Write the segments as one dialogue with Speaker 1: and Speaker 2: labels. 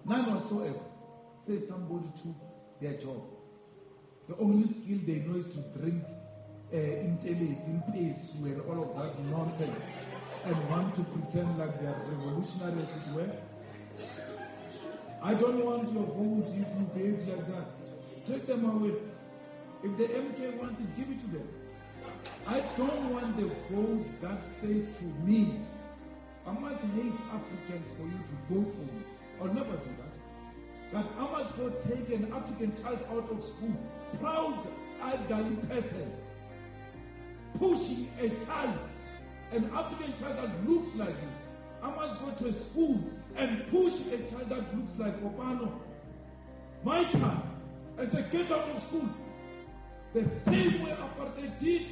Speaker 1: None whatsoever. Say somebody took their job. The only skill they know is to drink intellis, impesu, and all of that nonsense, and want to pretend like they are revolutionary, as it were. I don't want your vote if you behave like that. Take them away. If the MK wants it, give it to them. I don't want the vote that says to me, I must hate Africans for you to vote for me. I'll never do that. But I must go take an African child out of school, proud elderly person, pushing a child, an African child that looks like you. I must go to a school and push a child that looks like Kopano, my child, and say, get out of school. The same way apartheid did,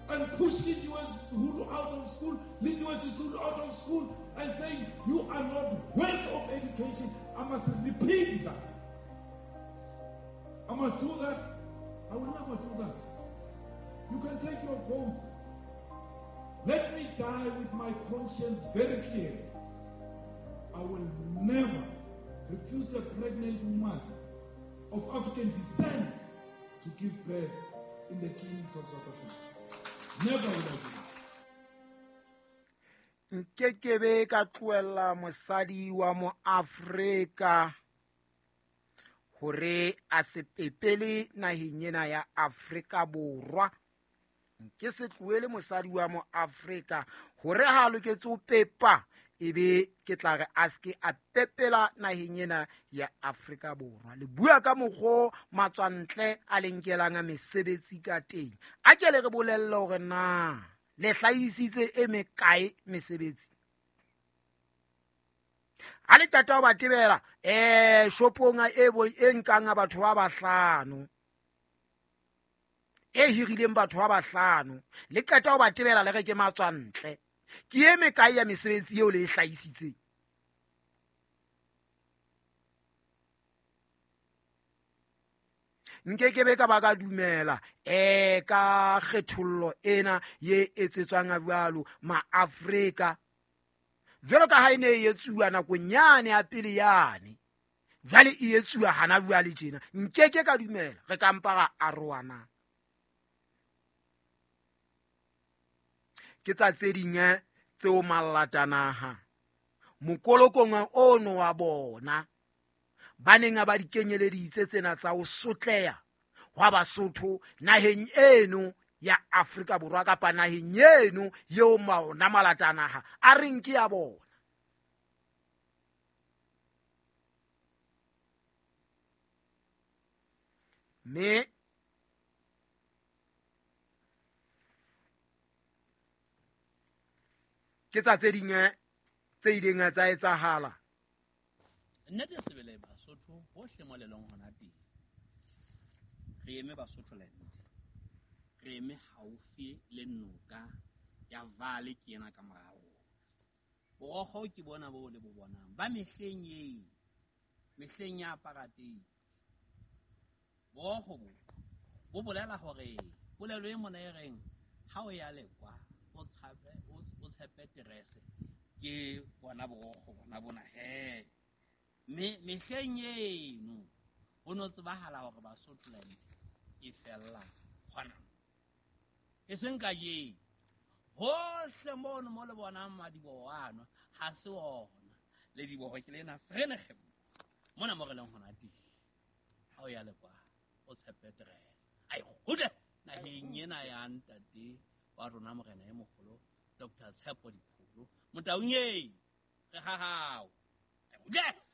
Speaker 1: and push Lindiwe Zulu out of school, Lindiwe Zulu out of school, and saying, you are not worth of education. I must repeat that. I must do that. I will never do that. You can take your votes. Let me die with my conscience very clear. I will never refuse a pregnant woman of African descent to give birth in the clinics of South Africa. Never will I do that.
Speaker 2: Nkekebe ka tlohella mosadi wa moAfrika hore a se pepele naheng ena ya Afrika Borwa. Nke se tlohele mosadi wa moAfrika hore ha a loketse ho pepa, ebe ke tla re a se ke a pepela naheng ena ya Afrika Borwa. Le bua ka mokgo matswantle a le nkelang mesebetsi ka teng. A ke le re bolelle hore na le hlahisitse e mekae mesebetsi. Ha le qeta ho ba tebela, shopong e bo e nkang batho ba bahlano, e hirileng batho ba bahlano, le qeta ho ba tebela le re ke matswantle. Ke e mekae ya mesebetsi eo le e hlahisitseng? Nkekebe ka ba ka dumela ka kgethollo ena ye etsetswang jwalo maAfrika, jwalo ka ha e ne e etsuwa nakong yane ya pele yane, jwale e etsuwa hana jwale tjena. Nkeke ka dumela, re ka mpa ra arohana. Ke tsa tse ding tseo mallatanaha mokolokong ono wa bona ba neng ba di kenyeleditse tsena tsa ho sotleha hwa Basotho naheng eno ya Afrika Borwa kapa naheng eno eo maona malatanaha a reng ke ya bona. Mme ke tsa tse ding tse ileng tsa etsahala.
Speaker 3: Nnete sebele Basotho hohle mo le leng hona teng, re eme Basotho land, re eme haufi le noka ya Vale ke ena ka morao. Borokgo ke bona bo le bo bonang ba mehleng e, mehleng ya apartheid. Borokgo bo bo bolela hore polelo e mona e reng ha o ya lekwa o tshabe o tshepe terese, ke bona borokgo bona bona he. Mehleng eno ho no tsebahala hore Basotho land e fella hona, e seng kajeno. Hohle mono mo le bonang madiboho ano ha se ona, le diboho ke lena Vereeniging mona mo re leng hona teng. Ha o ya lekwa o tshepe terese, ai kgutle naheng ena ya ntate wa rona morena e moholo Dr. Tshepo Dipholo Motaung e re ha hao. Ai kgutle.